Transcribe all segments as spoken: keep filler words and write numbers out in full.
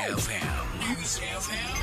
F M. News F M.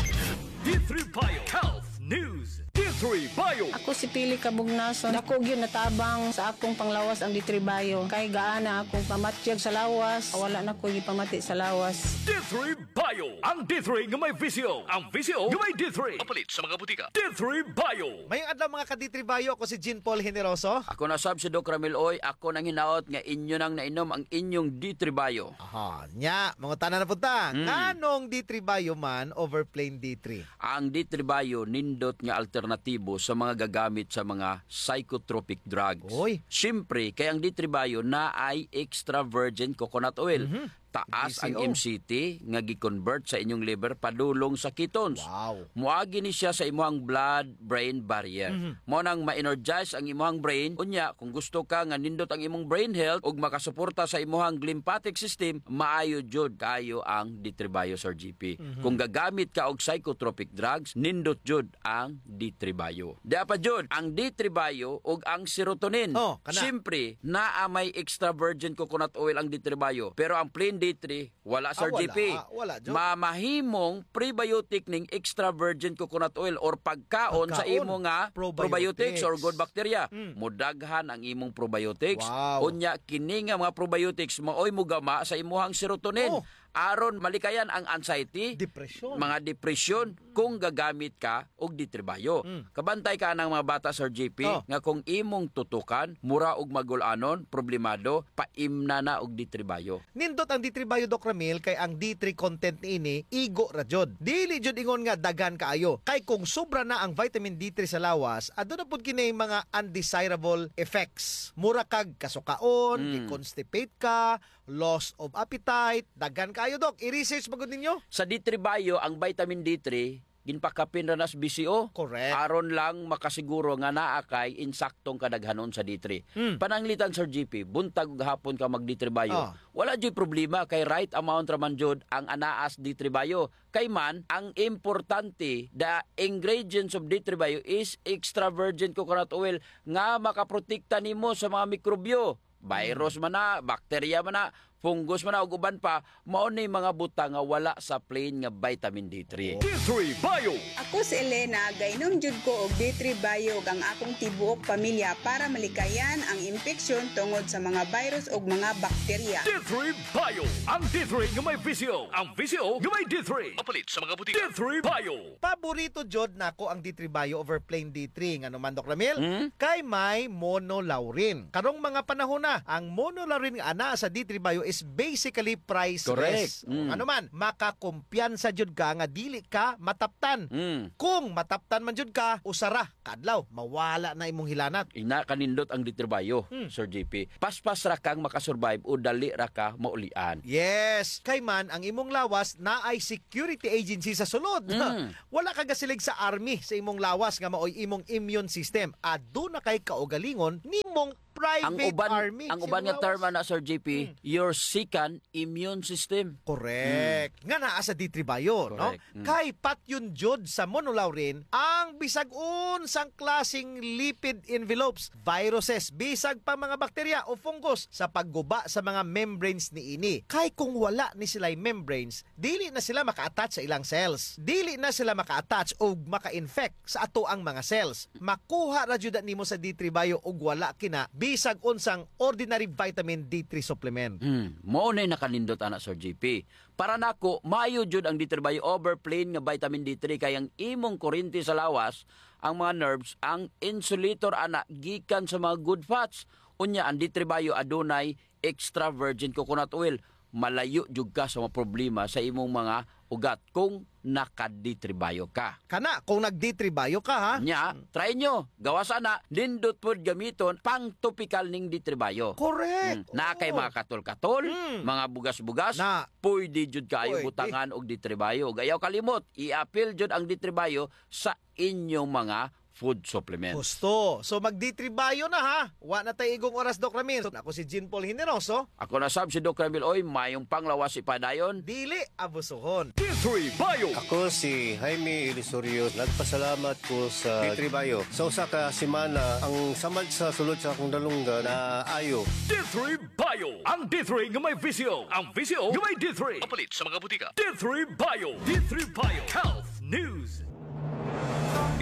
D three Bio Health News. D three Bio. Ako si Pili Kabugnason. Dako gyud natabang sa akong panglawas ang D three Bio. Kay gaana akong pamatyag sa lawas, wala na ko gipamati sa lawas. D three Bio. Ang D three nga may V C O. Ang V C O nga may D three. Mapalit sa mga butika. D three Bio. Mayong adlaw, mga ka-D three Bio. Ako si Jean Paul Generoso. Ako na sab si Doc Ramil Oy. Ako nang hinaot nga inyo nang nainom ang inyong D three Bio. Aha, nya, mangutana na pud ta. Mm. Nganong D three Bio man over plain D three? Ang D three Bio nindot nga alternatibo sa mga gagamit sa mga psychotropic drugs. Oy. Siyempre, kay ang D three Bio naay extra virgin coconut oil. Mhm. Taas ang V C O. M C T nga gi-convert sa inyong liver padulong sa ketones. Wow. Moagi ni siya sa imuhang blood-brain barrier. Mhm. Mao nang ma-energize ang imuhang brain. Unya, kung gusto ka nga nindot ang imong brain health ug makasuporta sa imuhang lymphatic system, maayo jud kaayo ang D three Bio, Sir G P. Mhm. Kung gagamit ka og psychotropic drugs, nindot jud ang D three Bio. Dia pa jud, ang D three Bio ug ang serotonin. Oh, kana. Siyempre, naa may extra virgin coconut oil ang D three Bio, pero ang plain D three, wala, Sir G P. Ah, wala. Wala jud. Mamahimong prebiotic ning extra virgin coconut oil or pagkaon sa imo nga probiotics or good bacteria. Pagkaon. Probiotics. Mm. Modaghan ang imong probiotics. Wow. Unya, kini nga mga probiotics maoy mogama sa imuhang serotonin. Oh. Aron malikayan ang anxiety, depresyon, mga depresyon, kung gagamit ka og D three Bio. Mm. Kabantay ka anang mga bata, Sir G P, oh, nga kung imong tutukan, mura og magul-anon, problemado, paimna na og D three Bio. Nindot ang D three Bio, Doc Ramil, kay ang D three content niini, igo ra jud. Dili jud ingon nga daghan kaayo. Kay kung sobra na ang vitamin D three sa lawas, aduna pud kini mga undesirable effects. Mura kag kasukaon, mm, i-constipate ka, loss of appetite. Daghan kaayo, Doc. I-research ba gud ninyo? Sa D three Bio, ang vitamin D three, ginpakapin ra nas V C O. Correct. Aron lang makasiguro nga naa kay insaktong kadaghanon sa D three. Hmm. Pananglitan, Sir G P, buntag ug hapon ka mag D three Bio. Ah. Wala juy problema kay right amount ra man jud ang anaa sa D three Bio. Kay man, ang importante, the ingredients of D three Bio is extra virgin coconut oil nga makaprotekta nimo sa mga mikrobyo. Virus man na, bakterya man na, fungus man na, ug uban pa, mao ni mga butang nga wala sa plain nga vitamin D three. D three Bio. Ako si Elena, gainom jud ko og D three Bio ug ang akong tibuok pamilya para malikayan ang impeksyon tungod sa mga virus ug mga bakterya. D three Bio. Ang D three nga may V C O. Ang V C O nga may D three. Mapalit sa mga butika. D three Bio. Paborito jud nako ang D three Bio over plain D three. Ngano man, Doc Ramil? Hmm? Kay may monolaurin. Karong mga panahon na, ang monolaurin nga anaa sa D three Bio is basically priceless. Correct. Hmm. Ngano man, makakumpiyansa jud ka nga dili ka mataptan. Hmm. Kung mataptan man jud ka, usa ra ka adlaw, mawala na imong hilanat. Ina kanindot ang D three Bio, hmm, Sir G P. Paspas ra kang makasurvive o dali ra ka maulian. Yes. Kay man, ang imong lawas naay security agency sa sulod. Mm. Wala ka gasilig sa army sa imong lawas nga maoy imong immune system. Aduna kay kaugalingon nimong private army sa imong lawas. Ang uban, ang uban nga term ana, Sir G P, mm, your second immune system. Correct. Mm. Nga naa sa D three Bio, no? Correct. Mm. Kay patyon jud sa monolaurin ang bisag unsang klaseng lipid envelopes, viruses, bisag pa mga bakterya o fungus sa pagguba sa mga membranes niini. Kay kung wala ni sila'y membranes, dili na sila maka-attach sa ilang cells. Dili na sila maka-attach o maka-infect sa atoang mga cells. Makuha ra jud na nimo sa D three Bio ug wala kina bisag unsang ordinary vitamin D three supplement. Hmm, mao na'y nakanindot ana, Sir G P. Para nako, maayo jud ang D three Bio over plain nga vitamin D three kay ang imong kurente sa lawas, ang mga nerves, ang insulator ana gikan sa mga good fats. Unya, ang D three Bio adunay extra virgin coconut oil. Malayo jud ka sa mga problema sa imong mga ugat kung naka-D three Bio ka. Kana, kung nag-D three Bio ka, ha? Nya, hmm, try nyo. Gawas ana, nindot pod gamiton, pang-topical ning D three Bio. Correct. Hmm. Naa kay mga katol-katol, hmm, mga bugas-bugas, na, pwede jud kaayo butangan og D three Bio. Ug ayaw kalimot, i-apil jud ang D three Bio sa inyong mga food supplement. Husto. So, mag-D three Bio na, ha? Wa na tay igong oras, Doc Ramil. Ako si Jean Paul Generoso. Ako na sab si Doc Ramil. Oy, mayong panglawas ipadayon. Dili abusuhon. D three Bio. Ako si Jaime Ilisorio. Nagpasalamat ko sa D three Bio. Sa usa ka semana, ang samad sa sulod sa akong dalunggan naayo. D three Bio. Ang D three nga may visyo. Ang visyo nga may D three. Mapalit sa mga butika. D three Bio. D three Bio. Health News.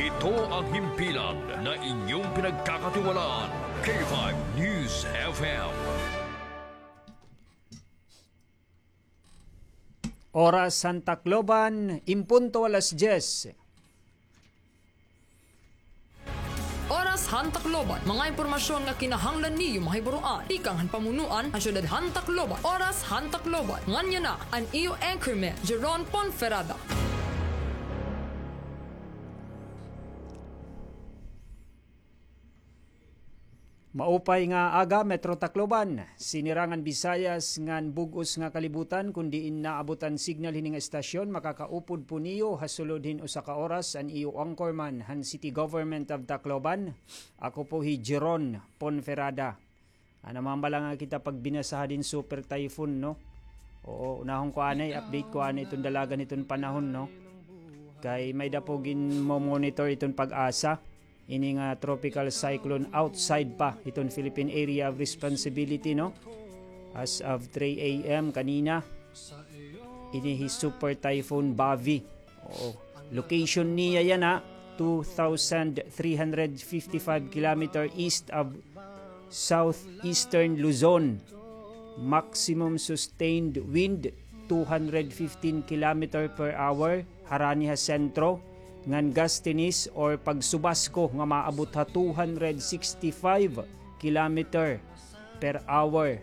Ito ang himpilan na inyong pinagkakatiwalaan. K five News F M. Oras han Tacloban, en punto alas diyes. Oras han Tacloban, mga impormasyon nga kinahanglan niyo mahibaroan tikang han pamunuan han syudad han Tacloban. Oras han Tacloban, nganhi na an iyo anchorman, Jeron Ponferrada. Maupay nga aga, Metro Tacloban. Sinirangan Visayas ngan bug-os nga kalibutan, kon diin naabot an signal hini nga estasyon, makakaupod po niyo ha sulod hin usa ka oras an iyo anchorman han City Government of Tacloban. Ako po hi Jeron Ponferrada. Ana, mambala nga kita pagbinasa hadin super typhoon, no? Oo, unahon ko anay, update ko anay iton dalagan hiton panahon, no? Kay may-ada po ginmo-monitor iton PAGASA. Ini nga tropical cyclone outside pa hiton Philippine Area of Responsibility, no? As of three a m kanina, ini hi Super Typhoon Bavi. Oo. Location niya yana, two thousand three hundred fifty-five kilometer east of southeastern Luzon. Maximum sustained wind, two hundred fifteen kilometer per hour, harani ha sentro, ngan gustiness or pagsubasko nga maabot ha two hundred sixty-five kilometer per hour.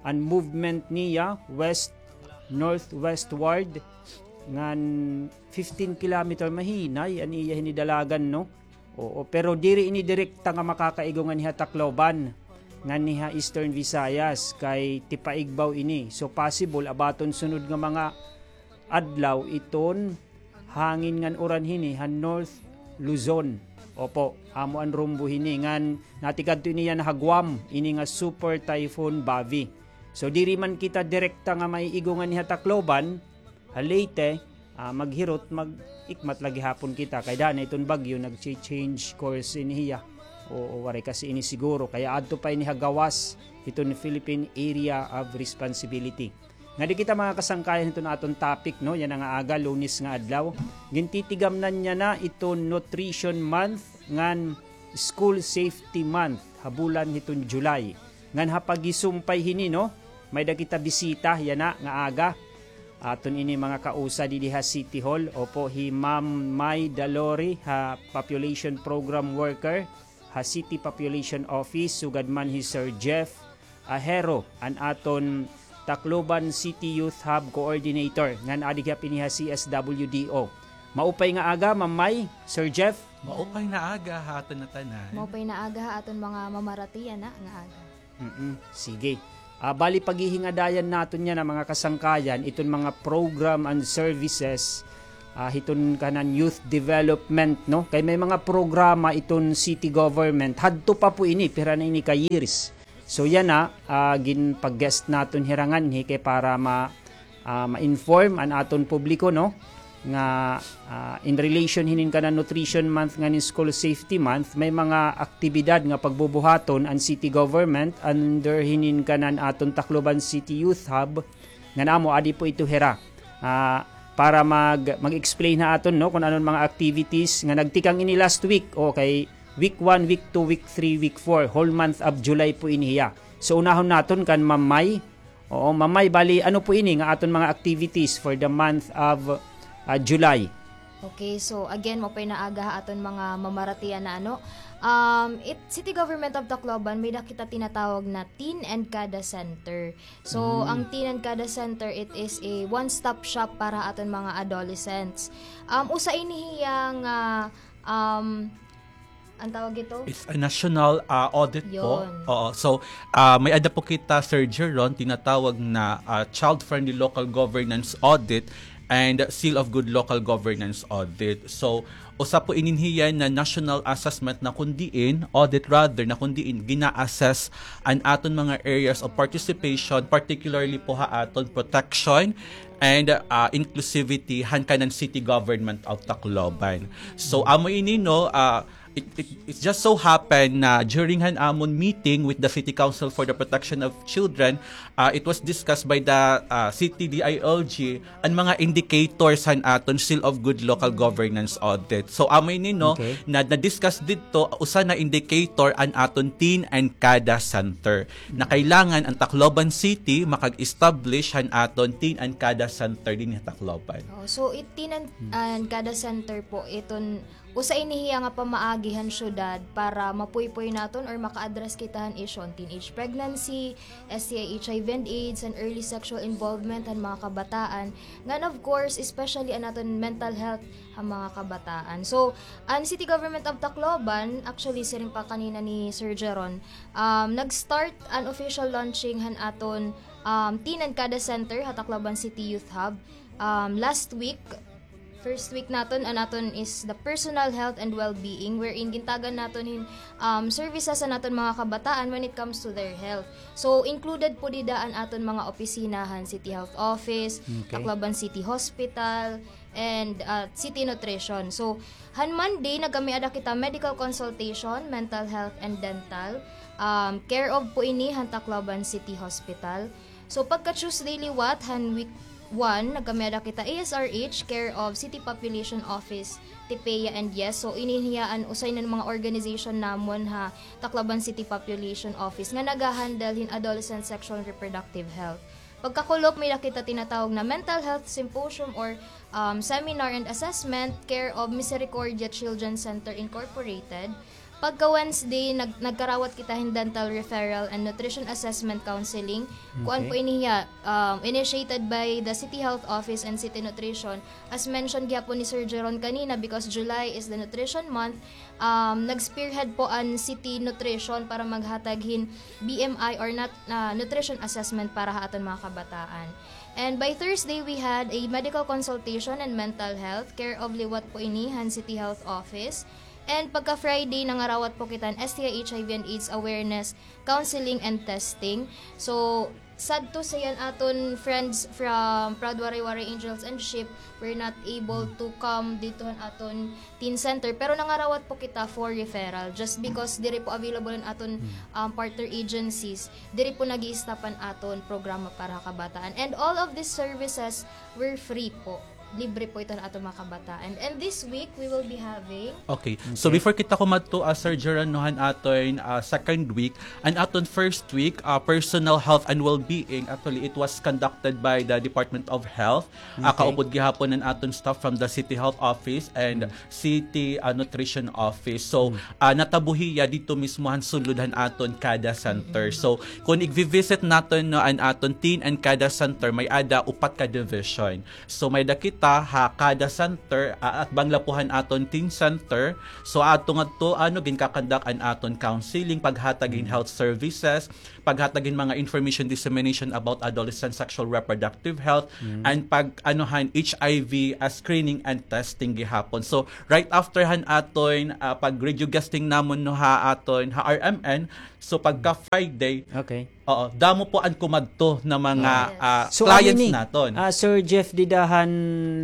An movement niya, west, northwestward, ngan fifteen kilometer, mahinay an iya hini dalagan, no? Oo, pero diri ini direkta nga makakaigo nganhi ha Tacloban, nganhi ha Eastern Visayas, kay tipaigbaw ini. So, possible, abaton sunod nga mga adlaw iton hangin ngan uran hini ha North Luzon. Opo, amo an rumbo hini, ngan natikadto ini yana ha Guam, ini nga Super Typhoon Bavi. So, diri man kita direkta nga maiigo nganhi ha Tacloban, ha Leyte, ah, maghirot, mag-ikmat la gihapon kita. Kay daan na iton bagyo, nag-change course ini hiya. Oo, waray kasi ini siguro. Kay adto pa ini ha gawas hiton Philippine Area of Responsibility. Ngadi kita, mga kasangkayan, hiton aton topic, no? Yana nga aga, Lunes nga adlaw. Gintitigamnan niya na iton Nutrition Month ngan School Safety Month ha bulan hiton July. Ngan ha paghisumpay hini, no, may-ada kita bisita yana nga aga. Aton ini mga kausa didi ha City Hall. Opo, hi Ma'am May Dalori, ha Population Program Worker ha City Population Office, sugad man hi Sir Jeff Ahero, an aton Tacloban City Youth Hub Coordinator, ngan adi gihap ini ha C S W D O. Maupay nga aga, Ma'am May, Sir Jeff. Maupay na aga ha aton ngatanan. Maupay na aga ha aton mga mamarati yana nga aga. Mm-mm. Sige. Ah, bali, paghihingadayan naton yana, mga kasangkayan, iton mga program and services, ah, hiton kanan youth development, no? Kay may mga programa iton city government. Hadto pa po ini, pira na ini ka years. So, yana, ah, ginpa-guest naton hira nganhi kay para ma-, ah, ma-inform an aton publiko, no, nga, ah, in relation hinin kanan Nutrition Month ngan hin School Safety Month, may mga aktibidad nga pagbubuhaton an city government under hinin kanan aton Tacloban City Youth Hub, ngan amo adi po ito hira. Ah, para mag-, mag-explain ha aton, no, kon ano an mga activities nga nagtikang ini last week, o kay week one, week two, week three, week four, whole month of July po ini hiya. So, unahon naton kan Ma'am May. Oo, Ma'am May, bali, ano po ini nga aton mga activities for the month of, ah, July? Okay, so again, maupay na aga ha aton mga mamarati yana, ano. Um, it, City Government of Tacloban, may-ada kita tinatawag na Teen and Kada Center. So, ang Teen and Kada Center, it is a one-stop shop para ha aton mga adolescents. Um, usa ini hiya nga, um, an tawag ito? It's a national, ah, audit po. Yon. Oo. So, ah, may-ada po kita, Sir Jeron, tinatawag na, ah, child-friendly local governance audit. and Seal of Good Local Governance audit. So, usa po inin hiya na national assessment na kun diin, audit rather, na kun diin gina-assess an aton mga areas of participation, particularly po ha aton protection and, ah, inclusivity han kanan City Government of Tacloban. So, amo ini, no, ah, it, it, it just so happened na during han amon meeting with the City Council for the Protection of Children, ah, it was discussed by the, ah, City D I L G an mga indicators han aton Seal of Good Local Governance audit. So, amo ini, no, Okay. na, na-discuss didto, usa na indicator an aton Teen and CADA Center. Na kailangan an Tacloban City makag-establish han aton Teen and CADA Center dinhi ha Tacloban. Oh, so, it Teen and, and CADA Center po, iton usa ini hiya nga pamaagi han syudad para mapuypoy naton or maka-address kita han issue han teenage pregnancy, S T I, H I V and AIDS, han early sexual involvement han mga kabataan, ngan of course, especially an aton mental health han mga kabataan. So, an City Government of Tacloban, actually, siring pa kanina ni Sir Jeron, um, nag-start an official launching han aton, um, Teen and CADA Center ha Tacloban City Youth Hub, um, last week. First week naton, an aton is the personal health and well-being, wherein gintagan naton hin, um, services an aton mga kabataan when it comes to their health. So, included po dida an aton mga opisina han City Health Office, Okay. Tacloban City Hospital, and, uh, City Nutrition. So, han Monday, nagkamiada kita medical consultation, mental health, and dental. Um, care of po ini han Tacloban City Hospital. So, pagka Tuesday liwat, han week one, nagkamiada kita A S R H, care of City Population Office, TPEA, and yes. So, ini hiya an usa hin mga organization namon ha Tacloban City Population Office nga nagahandle hin adolescent sexual and reproductive health. Pagkakulop, may-ada kita tinatawag na mental health symposium or, um, seminar and assessment, care of Misericordia Children's Center Incorporated. Pagka Wednesday, nag-, nagkarawat kita hin dental referral and nutrition assessment counseling. Kuan Okay. po ini hiya, um, initiated by the City Health Office and City Nutrition. As mentioned gihapon ni Sir Jeron kanina, because July is the nutrition month, um, nag-spearhead po an City Nutrition para maghatag hin B M I or nat-, ah, nutrition assessment para ha aton mga kabataan. And by Thursday, we had a medical consultation and mental health, care of liwat po ini han City Health Office. And pagka Friday, nangarawat po kita hin S T I, H I V and AIDS awareness, counseling and testing. So, sad to say, an aton friends from Proud Waray-Waray Angels and Sheep were not able to come didto han aton teen center. Pero nangarawat po kita for referral just because diri po available an aton, um, partner agencies. Diri po nag-i-stop an aton programa para ha kabataan. And all of these services were free po. Libre po ito han aton mga kabataan. And this week, we will be having Okay. So Okay. before kita kumadto, ah, Sir Jeron, no, han aton, ah, second week, an aton first week, ah, personal health and well-being, actually, it was conducted by the Department of Health. Ah, Okay. kaupod gihapon an aton staff from the City Health Office and Mm. City, ah, Nutrition Office. So, Mm. ah, natabo hiya didto mismo han sulod han aton CADA Center. Mm. So, kon igvi-visit naton, no, an aton Teen and CADA Center, may-ada upat ka division. So, may-ada kita ha CADA Center, ah, atbang la po han aton Teen Center. So, adto ngadto, ano, ginkakandak an aton counseling, paghatag hin Mm. health services, paghatag hin mga information dissemination about adolescent sexual reproductive health, Mm. and pag, ano, han H I V, ah, screening and testing gihapon. So, right after han aton, ah, pag-radio guesting namon, no, ha aton, ha R M N, so, pagka Friday, Okay. oo, damo po an kumadto na mga, Yes. ah, So, clients amo ini, naton. ah, Sir Jeff, dida han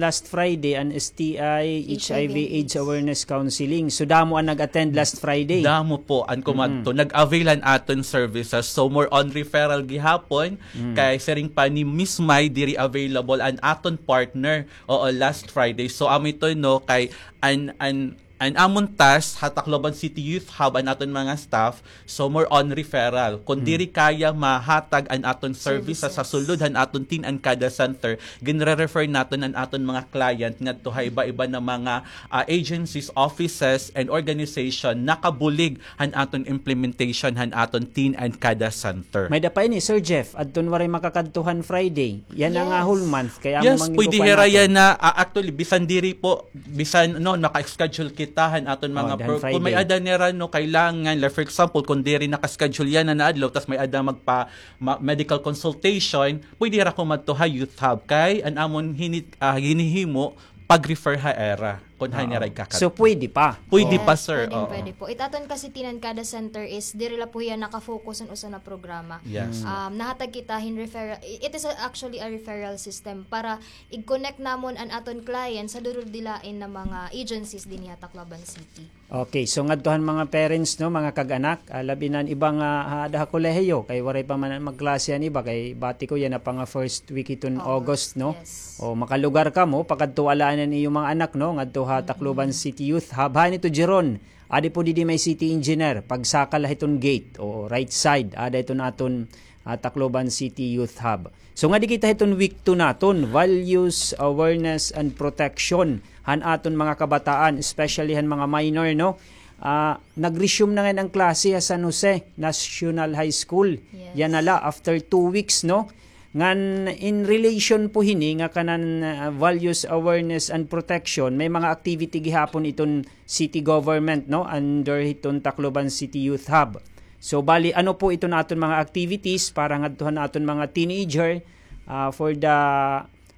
last Friday, an S T I, H I V, H I V AIDS AIDS. awareness counseling. So, damo an nag-attend last Friday. Damo po an kumadto. Mm-mm. Nag-avail han aton services. So, more on referral gihapon. Mm. Kay siring pa ni Miss May, diri available an aton partner. Oo, last Friday. So, amo ito, no, kay an, an, an amon task ha Tacloban City Youth Hub, an aton mga staff, so more on referral. Kung Hmm. diri kaya mahatag an aton services sa Services. sulod han aton Teen and CADA Center, ginre-refer naton an aton mga client ngadto ha iba-iba na mga, ah, agencies, offices, and organization nakabulig han aton implementation han aton Teen and CADA Center. May-ada pa ini, Sir Jeff, adton waray makakadto han Friday. Yana nga Yes. whole month, kay amo Yes, man pwede gikukuan hira naton. yana, ah, actually, bisan diri po, bisan, no, maka-schedule kita tahan aton mga program. Kung may ada nira, no, kailangan, like, for example, kung diri naka-schedule yana na adlaw, tas may ada magpa-, ma-, medical consultation, pwede hira kumadto ha Youth Hub. Kay, an amon hini-, ah, ginhihimo, pag-refer ha ira. Kung hain nira ikakadto. So, pwede pa? Pwede pa, sir. Pwede, pwede po. It aton kasi tinankada center is, diri la po hiya naka-focus an usa na programa. Yes. Um, nahatag kita hin referral. It is a, actually a referral system para i-connect namon an aton client sa durul-dilain na mga agencies dinhi ha Tacloban City. Okay, so ngadto han mga parents, no, mga kag-anak, ah, labi na an iba nga, ah, ada ha kolehiyo, kay waray pa man magklase an iba, kay bati ko yana pa nga first week hiton August, no? Yes. O, makalugar kamo, pakadto ala an iyo mga anak, no, ngadto ha Tacloban City Youth Hub. Hain ito, Jeron, adi po didi may city engineer, pagsaka la hiton gate, o, right side, ada iton aton ah, Tacloban City Youth Hub. So, ngadi kita hiton week two naton, Values, Awareness, and Protection han aton mga kabataan, especially han mga minor, no? Ah, nag-resume na ngayon an klase ha San Jose National High School. Yes. Yana la, after two weeks, no? Ngan in relation po hini nga kanan, ah, Values, Awareness, and Protection, may mga activity gihapon iton city government, no? Under hiton Tacloban City Youth Hub. So, bali, ano po iton aton mga activities para ngadto han aton mga teenager, ah, for the,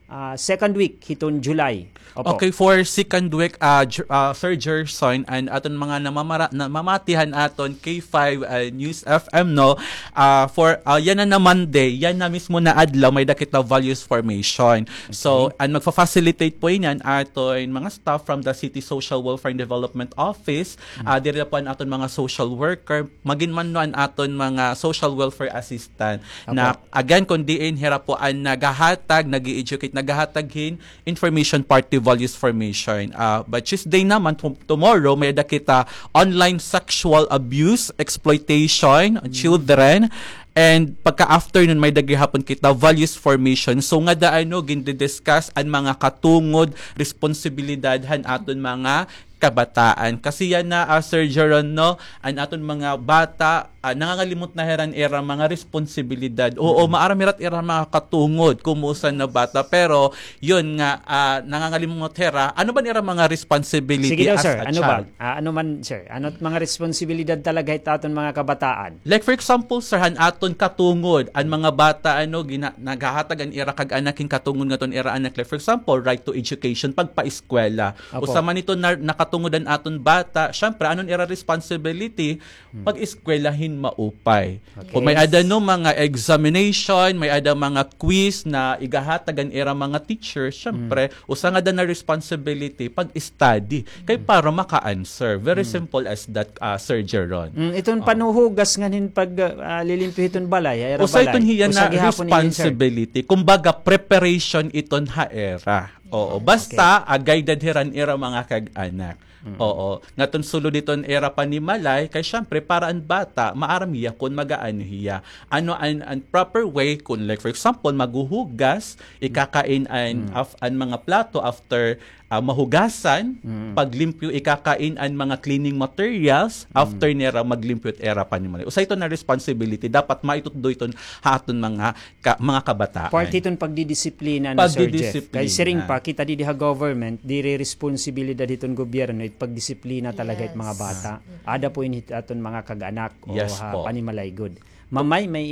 ah, second week hiton July? Opo. Okay, for second week, ah, Ju-, ah, Sir Gerson, an aton mga namamara-, namamati han aton K five, ah, News F M, no? Ah, for, ah, yana na Monday, yana mismo na adlaw, may-ada kita values formation. So, an magfa-facilitate po ini an aton mga staff from the City Social Welfare and Development Office, ah, diri la po an aton mga social worker, magin man no an aton mga social welfare assistant. Na, again, kun diin hira po an naghahatag, nag-i-educate, naghahatag hin information, parte values formation. Ah, but Tuesday naman, tom-, tomorrow, may-ada kita online sexual abuse, exploitation, children, and pagka-afternoon, may-ada gihapon kita values formation. So, ngada ano, gindi-discuss an mga katungod, responsibilidad han aton mga kabataan. Kasi yana, ah, Sir Jeron, no, an aton mga bata, ah, nangangalimot na hira an ira mga responsibilidad. Oo, maaram hira it ira mga katungod, kumusa na bata, pero yun nga, ah, nangangalimot hira, ano ba an ira mga responsibility as a child? Sige daw, sir. Ano ba? Ah, ano man, sir? Ano it mga responsibilidad talaga hit aton mga kabataan? Like, for example, sir, han aton katungod, an mga bata, ano, gina-, naghahatag an ira kag-anak hin katungod ngadto han ira anak. Like, for example, right to education, pagpaeskwela. Opo. Usa man ito na, nakatungod an aton bata, syempre, ano an ira responsibility? Pag-eskwela hin maupay. Okay. Kung may-ada, no, mga examination, may-ada mga quiz na igahatag an ira mga teacher, syempre, usa ngada na responsibility, pag-study. Kay para maka-answer. Very simple as that, ah, Sir Jeron. Mm, iton panhuhugas ngan hin pag, ah, lilimpyo hiton balay, ha ira balay. Usa iton hiya na responsibility. Kumbaga, preparation iton ha ira. Oo. Basta, ah, guided hira an ira mga kag-anak. Oo. Ngadton sulod hiton ira panimalay, kay syempre, para an bata, maaram hiya kun mag-aano hiya. Ano an, an proper way, kun, like, for example, maghuhugas, ikakain an, af-, an mga plato after, ah, mahugasan, paglimpyo, ikakain an mga cleaning materials after nira maglimpyo it ira panimalay. Usa ito na responsibility, dapat maitutdo iton ha aton mga ka-, mga kabataan. Parte iton pagdidisiplina, no, Sir Jeff? Pagdidisiplina. Kay siring pa, kita didi ha government, diri responsibilidad hiton gobyerno it pagdisiplina talaga it mga bata. Ada po ini hit aton mga kag-anak o ha panimalay gud. Ma'am May, may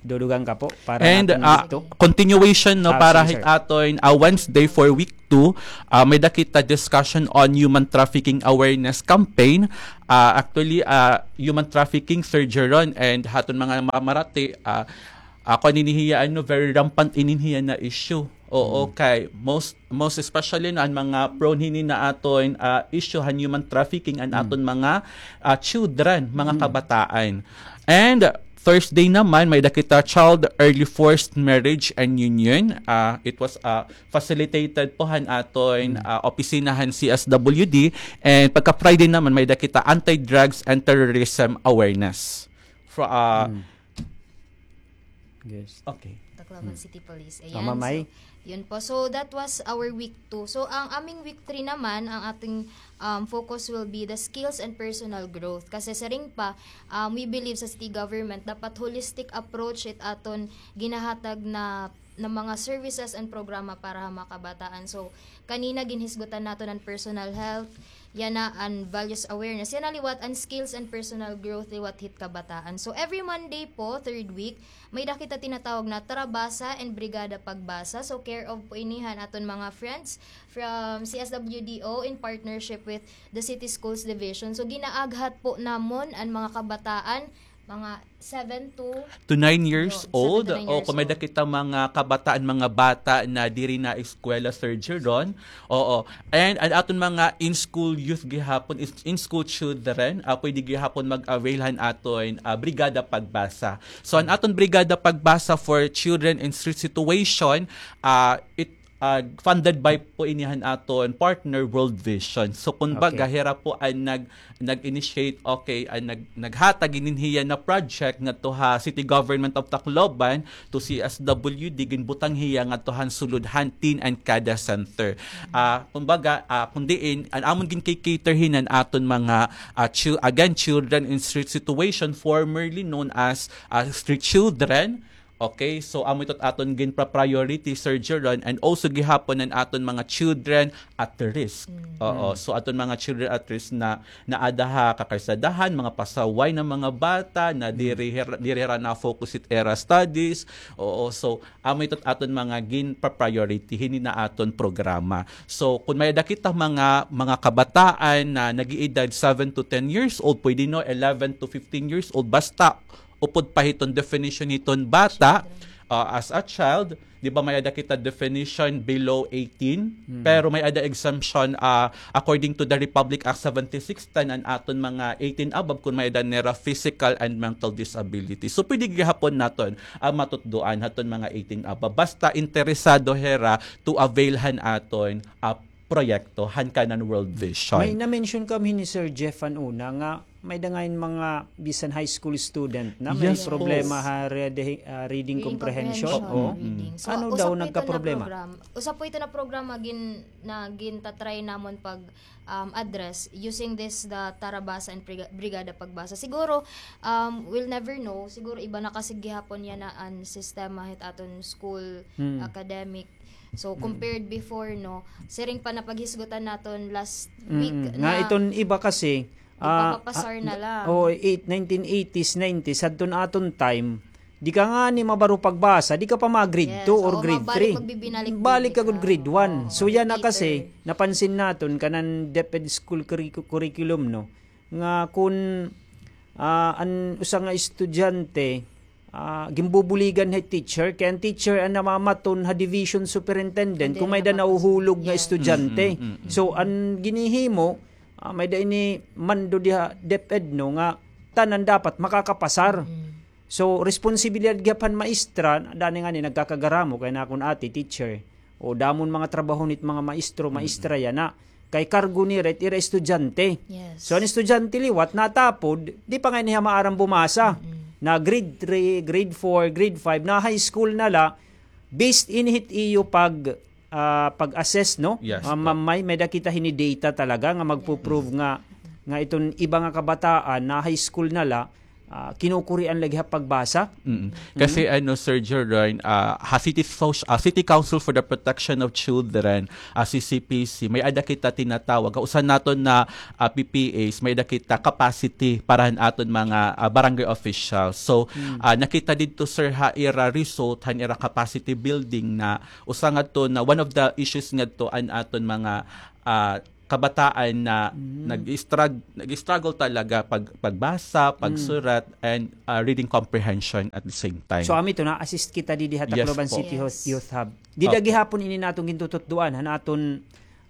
idudugang ka po para... And, ah, continuation, no, para hit aton, ah, Wednesday for week two, ah, may-ada kita discussion on human trafficking awareness campaign. Ah, actually, ah, human trafficking, Sir Jeron, and ha aton mga mamarati, ah, Ako, ini hiya, ano, very rampant ini hiya na issue. Oo, kay most, most especially, no, an mga prone hini na aton, ah, issue han human trafficking an aton mga, ah, children, mga kabataan. And Thursday naman, may-ada kita Child Early Forced Marriage and Union. Ah, it was, ah, facilitated po han aton, ah, opisina han C S W D. And pagka Friday naman, may-ada kita Anti-Drugs and Terrorism Awareness. Fro-, ah, Yes. Okay. Tacloban City Police. Ayan. Ma'am May? So, yun po. So, that was our week two. So, ang aming week three naman, ang ating, um, focus will be the skills and personal growth. Kasi siring pa, um, we believe sa city government, dapat holistic approach it aton ginahatag na, na mga services and programa para ha mga kabataan. So, kanina ginhisgutan naton an personal health, yana an values awareness, yana liwat an skills and personal growth liwat hit kabataan. So, every Monday po, third week, may-ada kita tinatawag na Tarabasa and Brigada Pagbasa. So, care of po ini han aton mga friends from C S W D O in partnership with the City Schools Division. So, ginaaghat po namon an mga kabataan, mga seven to To nine years Yun, seven old. to nine O, years kung may-ada old. kita mga kabataan, mga bata na diri naeskwela, Sir Jeron. Oo. And an aton mga in-school youth gihapon, is in-school children, ah, pwede gihapon mag-avail han aton, ah, Brigada Pagbasa. So, an aton Brigada Pagbasa for children in street situation, ah, it ah, funded by po ini han aton partner, World Vision. So, kumbaga, Okay. hira po an nag-, nag-initiate, okay, an nag-, naghatag hinin hiya na project ngadto ha City Government of Tacloban to C S W D, ginbutang hiya ngadto han sulod han Teen and Kada Center. Ah, kumbaga, ah, kun diin, an amon gin-cater hin an aton mga, ah, chil-, again, children in street situation, formerly known as, ah, street children, Okay, so amo ito aton ginpa-priority, Sir Jeron, and also gihapon an aton mga children at risk. Mm. Oo, Mm. so aton mga children at risk na naada ha kakarsadahan, mga pasaway na mga bata na Mm. diri hira, diri hira na-focus it ira studies. Oo, so amo ito aton mga ginpa-priority hini na aton programa. So kun may-ada kita mga, mga kabataan na nag-iedad seven to ten years old, pwede no, eleven to fifteen years old, basta upod pa hiton definition hiton bata, Children. ah, as a child, di ba may-ada kita definition below eighteen, Hmm. pero may-ada exemption, ah, according to the Republic Act seventy-six ten, an aton mga eighteen above kun may-ada nira physical and mental disability. So, pwede gihapon naton, ah, matutdoan haton mga eighteen above. Basta interesado hira to avail han aton, ah, proyekto han kanan World Vision. May na-mention kami ni Sir Jeff han una nga may-ada ngay-an mga bisan high school student na may Yes po. problema ha reading, ah, reading Reading comprehension. comprehension, Oo. reading. So, Ano usa daw po ito na nagkaproblema? program-, usa po ito na programa gin-, na gintatry namon pag, um, address using this, the Tarabasa and Briga-, Brigada Pagbasa. Siguro, um, we'll never know. Siguro iba na kasi gihapon yana an sistema hit aton school Mm. academic. So, Mm. compared before, no, siring pa napaghisgutan naton last Mm. week Nga na iton iba kasi, ah, ipapapasar ah, na lang. oh, eight, nineteen eighties, nineties, hadton aton time, di ka ngani mabaro pagbasa, di ka pa ma-grade Yes, two or oo, grade mabalik three. magbibinalik Balik ka gud grade one. Oo, So, yana repeater. kasi, napansin naton kanan DepEd school curricu-, curriculum, no, nga kun, ah, an usa nga estudyante, ah, ginbubuligan hi teacher, kay an teacher an namamaton ha division superintendent Hindi kun may-ada nakapasok. nauhulog nga Yeah. estudyante. Mm, mm, mm. So, an ginhihimo, ah, may-ada ini mando diha DepEd, no, nga tanan dapat makakapasar. Mm. So, responsibilidad gihap han maestra, dani ngani nagkakagaramo kay nakon ati teacher. O, damo an mga trabaho hit mga maestro, Mm. maestra yana. Kay kargo nira it ira estudyante. Yes. So, an estudyante liwat, natapod, di pa ngani hiya maaram bumasa. Mm-mm. Na grade three, grade four, grade five, na high school na la, based ini hit iyo pag, ah, pag-assess, no? Yes Ah, po. ma-, may, may-ada kita hini data talaga nga magpo-prove Yes. nga, nga iton iba nga kabataan na high school na la, ah, kinukurian lagi ha pagbasa. Mm. Kasi Mm. ano, Sir Jeroen, ah, ha City Soc-, ah, City Council for the Protection of Children, ah, C C P C, may-ada kita tinatawag. Usa naton na, ah, P P As, may-ada kita capacity para han aton mga, ah, barangay officials. So, Mm. ah, nakita didto, sir, ha ira result, han ira capacity building na usa ngadto na one of the issues ngadto an aton mga, ah, kabataan na Mm. nag-strug-, nag-struggle talaga pag-, pagbasa, Mm. pagsurat, and, ah, reading comprehension at the same time. So, amo ito, na-assist kita didi ha Yes Tacloban po. City Youth, Yes. Youth Hub. Dida Opo. gihapon ini naton gintututdoan, han aton,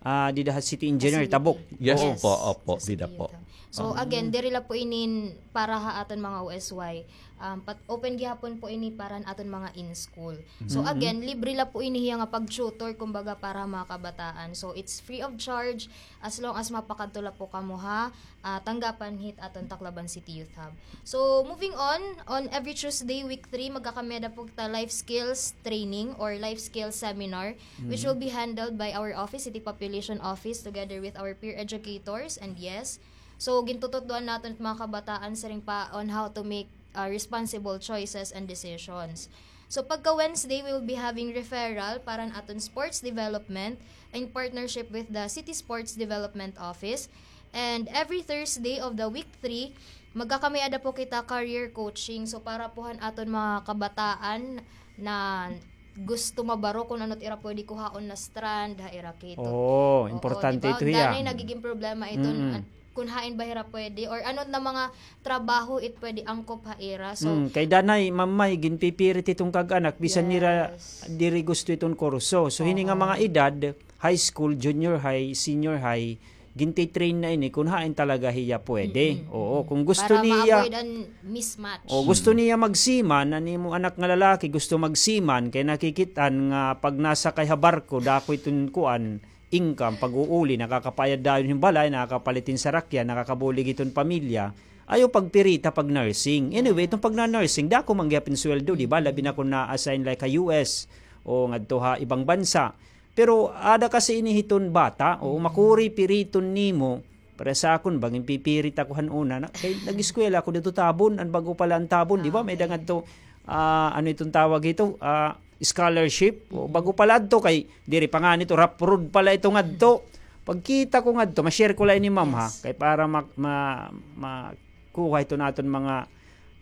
ah, dida ha City Engineer, Facility. Tabok. Yes Oo. po, opo, Sa dida City po. Youth Hub. So, Oo. again, diri la po inin para ha aton mga O S Y. Um, pat-, open gihapon po ini para han aton mga in-school. So, Mm-hmm. again, libre la po ini hiya nga pag-tutor, kumbaga, para mga kabataan. So, it's free of charge as long as mapakadto la po kamo ha, ah, tanggapan hit aton Tacloban City Youth Hub. So, moving on, on every Tuesday, week three, magkakami-ada po kita life skills training or life skills seminar, which Mm-hmm. will be handled by our office, City Population Office, together with our peer educators. And yes, so, gintututdoan naton it mga kabataan siring pa on how to make ah, responsible choices and decisions. So pagka Wednesday, we will be having referral para an aton sports development in partnership with the City Sports Development Office. And every Thursday of the week three, magkakamay-ada po kita career coaching. So para po han aton mga kabataan na gusto mabaro kun ano it ira pwede kuhaon na strand ha ira kito. Oo, importante ito hiya. Danay nagiging problema iton kun hain ba hira pwede or ano na mga trabaho it pwede angkop ha ira. So, kay danay, Ma'am May, ginpipirit iton kag-anak bisan nira diri gusto iton kurso. So hini nga mga edad, high school, junior high, senior high, gintitrain na ini kun hain talaga hiya pwede. Oo, kung gusto niya, para ma-avoid an mismatch. O gusto niya magseaman, an imo anak nga lalaki gusto magseaman, kay nakikit-an nga pag nasakay ha barko, dako iton kuan, income, pag-uuli, nakakapayad dayon hin balay, nakakapalit hin sarakyan, nakakabulig hiton pamilya, ayaw pagpirita pag-nursing. Anyway, iton pagna-nursing, dako man gihap hin sweldo, di ba? Labi na kun na-assign like ha U S o ngadto ha ibang bansa. Pero ada kasi ini hiton bata, o makuri piriton nimo, para sa akon, bangin pipirit ako han una, na, kay nag-eskwela ako didto Tabon, an bag-o pa la an Tabon, di ba? May-ada ngadto, ah, ano iton tawag hito? Ah, scholarship. O, bag-o pa la adto kay diri pa ngani ito, rough road pa la ito ngadto. Pagkita ko ngadto, ma-share ko la ini, ma'am, ha? Kay para ma-, ma-, makuha iton aton mga,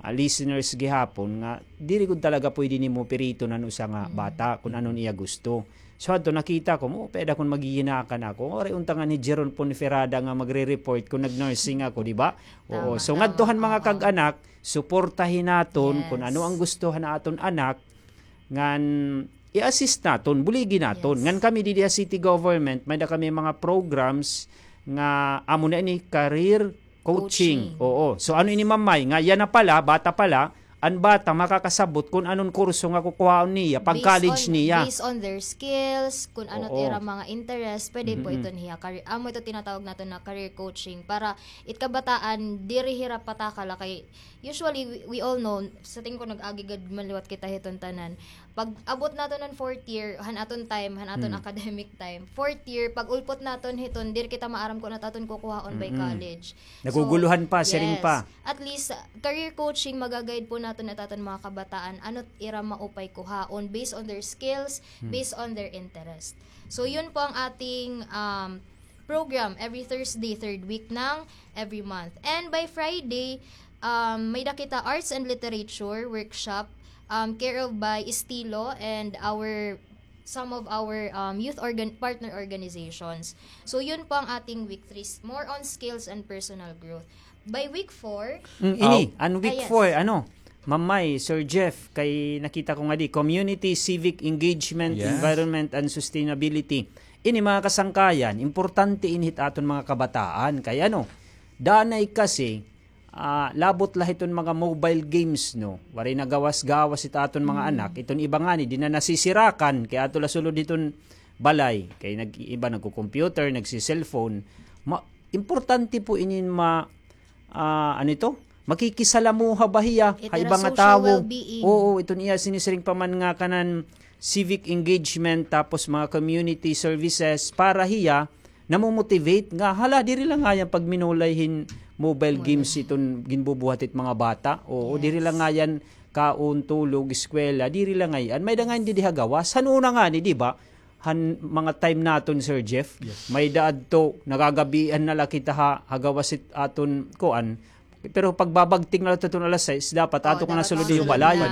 ah, listeners gihapon nga diri gud talaga pwede nimo piriton an usa nga bata kun ano an iya gusto. So, adto nakita ko, mo, pwede akon maghihinakan ako. Waray unta ngani hi Jeron Ponferrada nga magre-report kun nag-nursing ako, di ba? Oo. So, ngadto han mga kag-anak, suportahi naton kun ano an gusto han aton anak, ngan i-assist naton, buligi naton. Ngan kami didi ha city government, may-ada kami mga programs nga amo na ini, career coaching. Oo. So, ano ini, Ma'am May, nga yana pa la, bata pa la, an bata makakasabot kun ano an kurso nga kukuhaon niya pag-college niya. Based on their skills, kun ano it ira mga interest, pwede po iton hiya career. Amo ito tinatawag naton na career coaching para it kabataan, diri hira patakala kay usually, we, we all know, sa tingin ko nag-agi gad man liwat kita hiton tanan. Pag-abot naton han fourth year, han aton time, han aton academic time, fourth year, pag-ulpot naton hiton, diri kita maaram kun ano it aton kukuhaon by college. Naguguluhan pa, siring pa. At least, uh, career coaching, maga-guide po naton it aton mga kabataan, ano it ira maupay kuhaon based on their skills, based on their interest. So, yun po ang ating, um, program every Thursday, third week ng every month. And by Friday, um, may-ada kita arts and literature workshop, um, care of by Estilo and our, some of our, um, youth organ-, partner organizations. So, yun po ang ating week three, more on skills and personal growth. By week four, ini, an week four, ano, Ma'am May, Sir Jeff, kay nakita ko ngadi, community, civic engagement, environment, and sustainability. Ini mga kasangkayan, importante ini hit aton mga kabataan. Kay ano, danay kasi, ah, labot la hiton mga mobile games, no? Waray na gawas-gawas it aton mga anak. Iton iba ngani, di na nasisirakan, kay ato la sulod hiton balay. Kay nag-, iba nagko-computer, nagsi-cellphone. Ma-, importante po inin ma-, ah, ano ito? Makikisalamuha ba hiya ha iba nga tawo? Oo, iton iya sinisiring pa man nga kanan civic engagement, tapos mga community services para hiya namomotivate nga, hala, diri la ngayan pagminulay hin mobile games iton ginbubuhat it mga bata. Oo, diri la ngayan kaon, tulog, eskwela, diri la ngayan. May-ada ngayan didi ha gawas. Han una ngani, di ba? Han mga time naton, Sir Jeff, may-ada adto, nagagabian na la kita ha, ha gawas it aton, kuan. Pero pagbabagting na la aton alas sais, dapat ato ka na sulod iyo balay.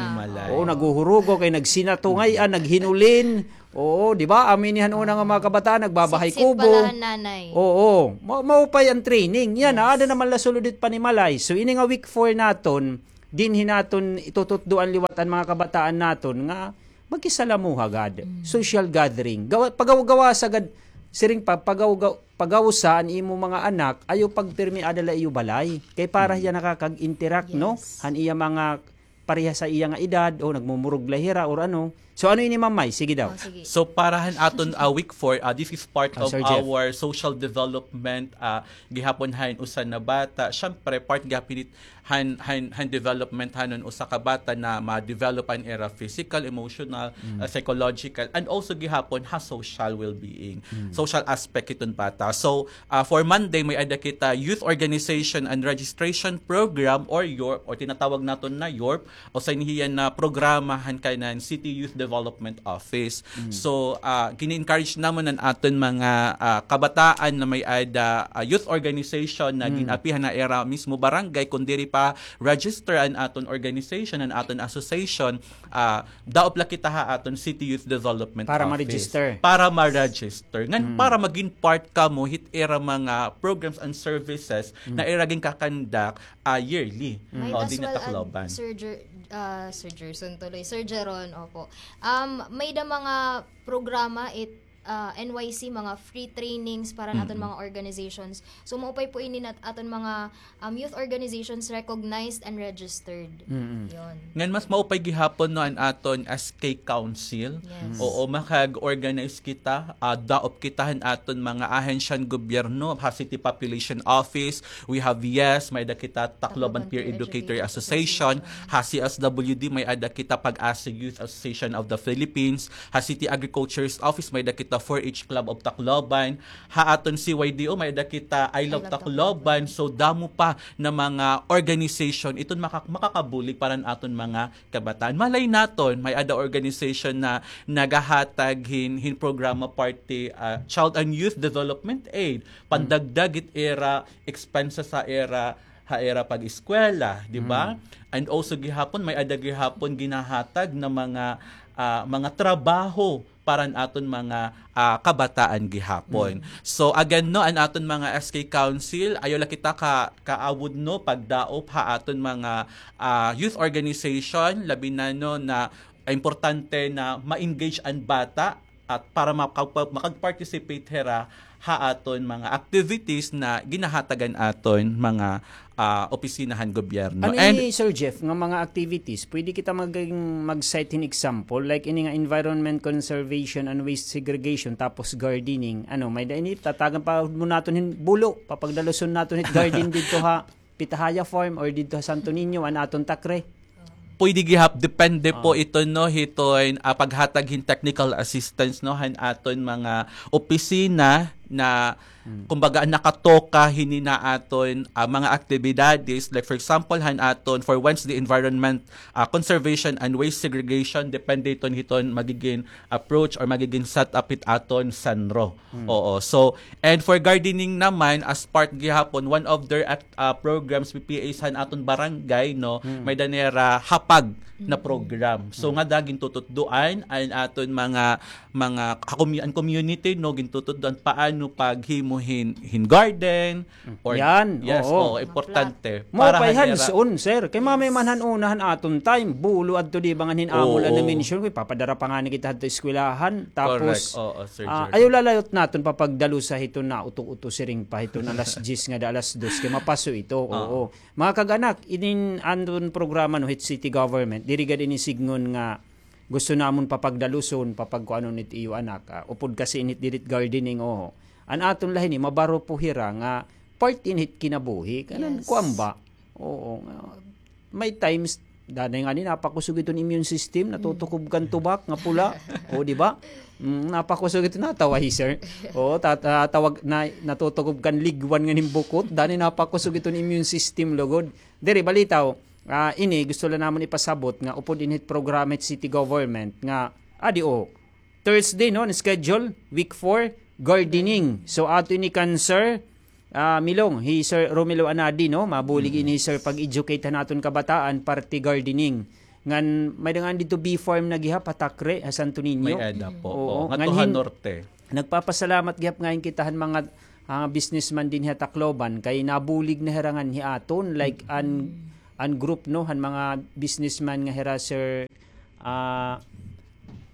Oo, naghuhurugo kay nagsinato ngay-an, naghinulin. Oo, di ba? Amo ini han una nga mga kabataan, nagbabahay kubo. Oo, ma-, maupay an training. Yana, ada naman la sulod it panimalay. So, ini nga week four naton, dinhi naton itututdoan liwat an mga kabataan naton nga magkisalamuha gad, social gathering. Gawa-, pagaw-gawasa gad, siring pa, pagaw-gaw-, pagawsa an imo mga anak, ayaw pagpirmi ada la iyo balay. Kay para hiya nakakag-interact, no? Han iya mga parehas sa iya nga edad, o nagmumurog la hira, or ano. So, ano ini, Ma'am Mai? Sige daw. Oh, sige. So, para han aton, ah, week four, ah, this is part of our social development, ah, gihapon han usa na bata. Siyempre, part gihapon han, han, han development hanon usa ka bata na ma-develop an ira physical, emotional, ah, psychological, and also gihapon ha social well-being, social aspect hiton bata. So, ah, for Monday, may-ada kita Youth Organization and Registration Program or yorp, or tinatawag naton na yorp, usa ini hiya na programa han kanan City Youth Development Office. So, ah, gini-encourage namon an aton mga, ah, kabataan na may-ada, ah, youth organization na gin-api han ira mismo barangay, kun diri pa register an aton organization, an aton association, ah, daop la kita ha aton City Youth Development Office. Para ma-register. Para ma-register. Ngan para magin part kamo hit ira mga programs and services na ira ginkakandak, ah, yearly. Might as well add, Sir Jer-, ah, Sir Jerson tuloy. Sir Jeron, opo. Um, may-ada mga programa it, ah, N Y C, mga free trainings para naton mga organizations. So, maupay po ini nat-, aton mga, um, youth organizations recognized and registered. Yon. Ngan mas maupay gihapon, no, an aton S K Council. Yes. Oo, makag-organize kita, ah, daop kita han aton mga ahensya han gobyerno, ha City Population Office, we have, yes, may-ada kita Tacloban Peer Educator Association, ha C S W D, may-ada kita Pag-asa Youth Association of the Philippines, ha City Agriculture's Office, may-ada kita four H Club of Tacloban, ha aton C Y D O, may-ada kita I Love Tacloban. So, damo pa na mga organization, iton maka-, makakabulig para han aton mga kabataan. Malay naton, may-ada organization na nagahatag hin, hin programa parte, ah, Child and Youth Development Aid, pandagdag hit ira expenses ha ira, ha ira pag-eskwela, di ba? And also gihapon, may-ada gihapon ginahatag na mga, ah, mga trabaho para han aton mga, ah, kabataan gihapon. So again, no, an aton mga S K Council, ayaw la kita ka, kaawod, no, pagdaop ha aton mga, ah, youth organization, labi na, no, na importante na ma-engage an bata at para makagpa-, makag-participate hira ha aton mga activities na ginahatag han aton mga, ah, opisina han gobyerno. Ano ini, Sir Jeff, nga mga activities? Pwede kita mag-, mag-cite hin example, like ini nga environment conservation and waste segregation, tapos gardening. Ano, may-ada ini, tatagan pa mo naton hin bulo, papagdaluson naton hit garden didto ha Pitahaya Farm or didto ha Santo Niño, an aton takre. Pwede gihap, depende po ito, no, hiton, ah, paghatag hin technical assistance, no, han aton mga opisina na, kumbaga, nakatoka hini na aton, ah, mga aktibidades. Like, for example, han aton for Wednesday, environment, ah, conservation and waste segregation, depende iton hiton magigin approach or magigin setup hit aton SENRO. Oo. So, and for gardening naman, as part gihapon, one of their act-, ah, programs, P P As han aton barangay, no, may-ada nira hapag na program. So, ngada gintututdoan an aton mga, mga kakomy-, an community, no, gintututdoan paano paghimo hin, hin garden, or, yes, oo, importante. Maupay han, sir. Kay mamay man han una han aton time, bulo adto di ba ngan hin amo la na-mention ko, ipapadara pa ngani kita hadto eskwelahan. Tapos, ah, ayaw lalayot naton papagdalusa hiton nauto-uto siring pa hiton alas diyes ngada alas dos kay mapaso ito. Oo. Mga kag-anak, inin aton programa, no, hit city government, diri gad ini sidngon nga gusto namon papagdaluson, papagkuanon it iyo anak. Ah, upod kasi init diri it gardening, oo. An aton la hini, mabaro po hira nga part ini hit kinabuhi. Kanan, kuan ba? Oo, nga, may times, danay ngani napakusog iton immune system, natutukob kan tubak nga pula. O, di ba? Mm, napakusog ito, natawa hi sir. O, tat-, ah, tawag na, natutukob kan ligwan ngan hin bukot, danay napakusog iton immune system, lugod. Diri, balitaw, ah, ini, gusto la namon ipasabot nga upod inhit programa hit city government nga, adi, o, Thursday, no, an schedule, week four, gardening. So, ato ini kan Sir, ah, Milong, hi Sir Romelo Anadi, no, mabulig ini hi Sir pag-educate han aton kabataan, parte gardening. Ngan, may-ada ngani didto bee farm na gihap, ha Takre, ha Santo Niño. May-ada po. Oo, ngadto ha norte. Nagpapasalamat gihap ngani kita han mga, ah, businessman dinhi ha Tacloban, kay nabulig na hira ngan hi aton, like, an, an group, no, han mga businessman nga hira, Sir, ah,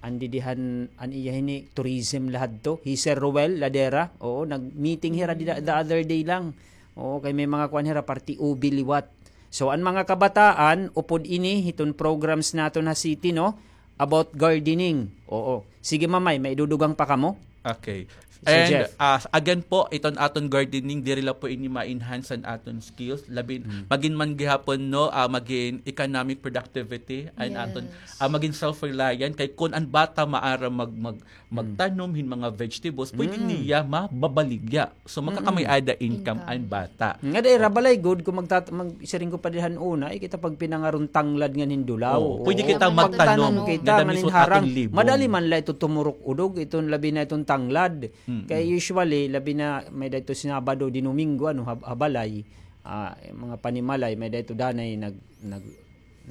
An didi han, an iya hini, tourism la hadto. Hi Sir Roel Ladera, oo, nag-meeting hira dida, the other day lang. Oo, kay may mga kuan hira, party ubi liwat. So, an mga kabataan, upod ini, hiton programs naton ha city, no? about gardening. Oo. Sige, Ma'am May, may idudugang pa kamo? Okay. Sir And Jeff. uh, again po, iton aton gardening, diri la po ini ma-enhance an aton skills. Labi, Mm. magin man gihapon, no, ah, magin economic productivity, an aton, Yes. ah, magin self-reliant. Kay kun an bata maaram mag, mag, Mm. magtanom hin mga vegetables, pwede Mm. niya mababaligya. So, makakamay-ada income Income. an bata. Nga dai ra balay gud kung magtat-, mag-, siring ko pa dihan una, eh, kita pagpinangaron tanglad ngan hin dulaw. Oo, pwede Oo. kita Naman ito magtanom. Magtanom kita, Ganda mismo ngan hin harang. Aton libong. Madali man la ito tumurok udog, iton labi na iton tanglad. Mm-mm. Kay usually, labi na may-ada ito Sabado, Domingo, ano, ha, ha balay, ah, mga panimalay, may-ada ito danay nag-, nag-,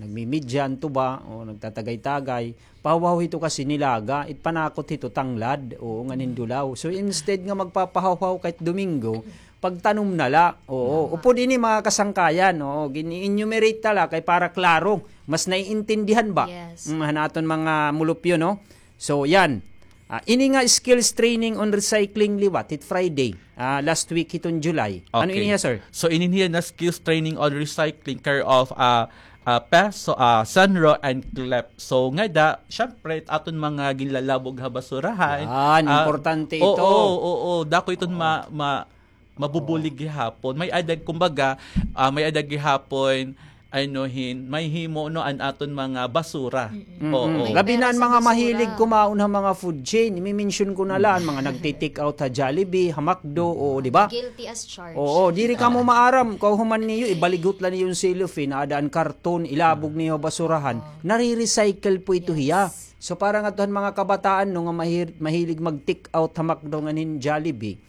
nagmimidya an tuba, o nagtatagay-tagay. Pahuhaw hito kasi nilaga, it panakot hito tanglad, oo, ngan hin dulaw. So, instead nga magpapahuhaw kay Domingo, pagtanom na la, oo. Tama. Upod ini mga kasangkayan, oo, gini-enumerate ta la kay para klaro, mas naiintindihan ba? Yes. Mm, han aton mga mulupyo, no? So, yan. Ah, ini nga skills training on recycling liwat, it Friday, ah, last week hiton July. Ano Okay. ini hiya, sir? So, ini hiya na skills training on recycling care of, ah, ah, PES, so, ah, SONRO and CLEP. So, ngada, syempre, aton mga ginlalabog ha basurahan. Yan, Ah, importante oo, ito. Oo, oo, dako iton Oo. ma-, ma-, mabubulig Oo. gihapon. May-ada, kumbaga, ah, may-ada gihapon, ano hin, mahimo, no, an aton mga basura. Mm-mm. Oo. Mm-mm. Labi na an mga mahilig kumaon ha mga food chain. Imi-mention ko na la, an mga nagti-take out ha Jollibee, ha McDo, oo, di ba? Guilty as charged. Oo, diri kamo maaram, kahuman niyo, ibaligot la niyo an cellophane, aada an karton, ilabog niyo ha basurahan. Oo. Nare-recycle po ito hiya. Yes. So, para ngadto han mga kabataan, no, nga mahir-, mahilig mag-take out ha McDo ngan hin Jollibee.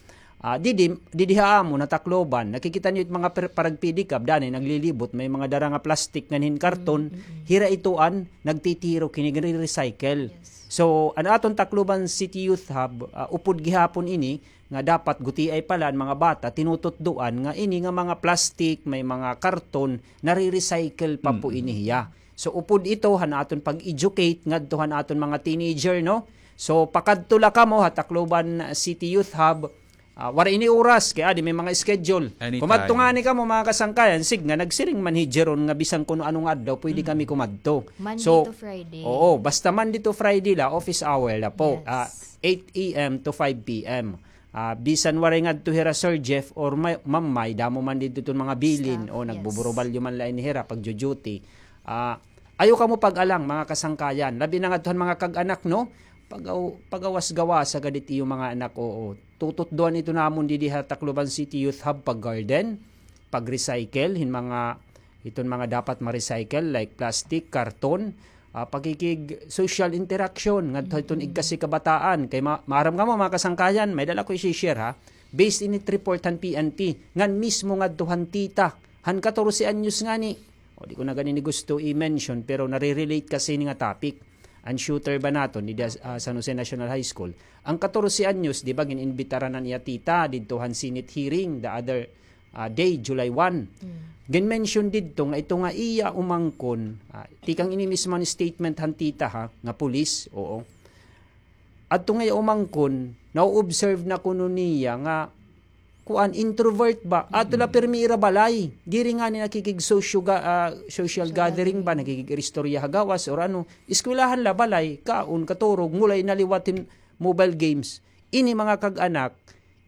Ah, didi, didi ha amon ha Tacloban, nakikita niyo it mga per-, parag-pedicab, danay naglilibot, may mga dara nga plastic ngan hin karton, Mm, mm, mm. hira ito an nagtitirok hini, nagre-recycle. Yes. So, an aton Tacloban City Youth Hub, ah, upod gihapon ini, nga dapat gutiay pa la an mga bata, tinututdoan nga ini nga mga plastic, may mga karton, nare-recycle pa po Mm, mm. ini hiya. So, upod ito han aton pag-educate ngadto han aton mga teenager, no? So, pakadto la kamo ha Tacloban City Youth Hub. Ah, waray ini oras, kay adi may mga schedule. Anytime. Kumadto ngani kamo, mga kasangkayan, sige nga, nagsiring man hi Jeron nga bisan kuno ano nga adlaw, pwede Mm. kami kumadto. Monday So, to Friday. oo, basta Monday to Friday la, office hour la po. Yes. Ah, eight A M to five P M. Ah, bisan waray ngadto hira Sir Jeff or may, Ma'am May, damo man didto iton mga bilin, Staff, o yes. nagbuburubalyo man la ini hira, pagjo-duty. Ah, ayaw kamo pag-alang, mga kasangkayan. Labi na ngadto han mga kag-anak, no? Pagaw-, pagawas-gawasa gad it iyo mga anak, oo. Tututdoan ito namon didi ha Tacloban City Youth Hub, pag-garden, pag-recycle hin mga, iton mga dapat ma-recycle, like plastic, karton, ah, pakikig-social interaction ngadto iton Mm. igkasi kabataan. Kay ma-, maaram kamo, mga kasangkayan, may dala ko isi-share, ha. Based init report han P N P, ngan mismo ngadto han tita, han katorse anyos ngani. O, di ko na gani ini gusto i-mention, pero nare-relate kasi ini nga topic. An shooter ba naton, didi, ah, San Jose National High School. An katorse anyos, di ba, gin-imbitaran an iya tita didto han Senate hearing the other, ah, day, July one. Mm. Gin-mention didto nga ito nga iya umangkon, ah, tikang ini mismo an statement han tita, ha, nga pulis, oo. Adto nga iya umangkon, na-observe na kuno niya nga kuan, introvert ba? Ato la Mm. pirmi ira balay. Diri ngani nakikig-sosyo ga-, ah, social Social gathering ba? gathering. Nakikig-iristorya ha gawas or ano. Eskwelahan la, balay, kaon, katurog, ngulay na liwat hin mobile games. Ini mga kag-anak,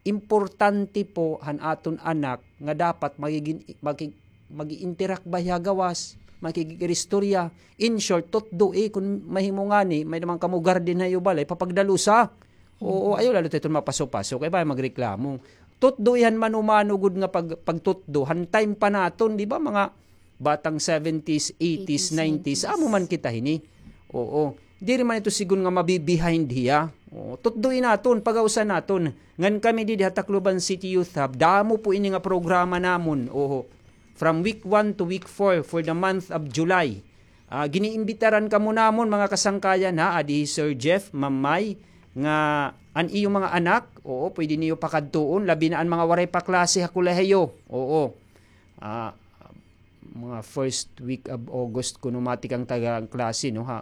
importante po han aton anak nga dapat magigin-, maki-, magi-interact ba hiya gawas, makikig-iristorya. In short, tutdoi kon mahimo ngani, may naman kamo garden ha iyo balay, papagdalusa. Oo, Mm. ayaw la la ito mapaso-paso, kay bangin magreklamo. Tutdoi han mano-mano gud nga pag-, pagtutdo, han time pa naton, di ba, mga batang seventies, eighties, Eighties, nineties, nineties. amo man kita hini. Oo. Diri man ito sigon nga mabi-behind hiya. Oo. Tutdoi naton, pagawsa naton. Ngan kami didi ha Tacloban City Youth Hub, damo po ini nga programa namon. Oo. From week one to week four for the month of July. Ah, giniimbitaran kamo namon, mga kasangkayan, ha, adi hi Sir Jeff, Ma'am May, nga an iyo mga anak, oo, pwede niyo pakadtuon, labi na an mga waray pa klase ha kolehiyo. Oo. Ah, mga first week of August kuno matikang taga klase, no, ha,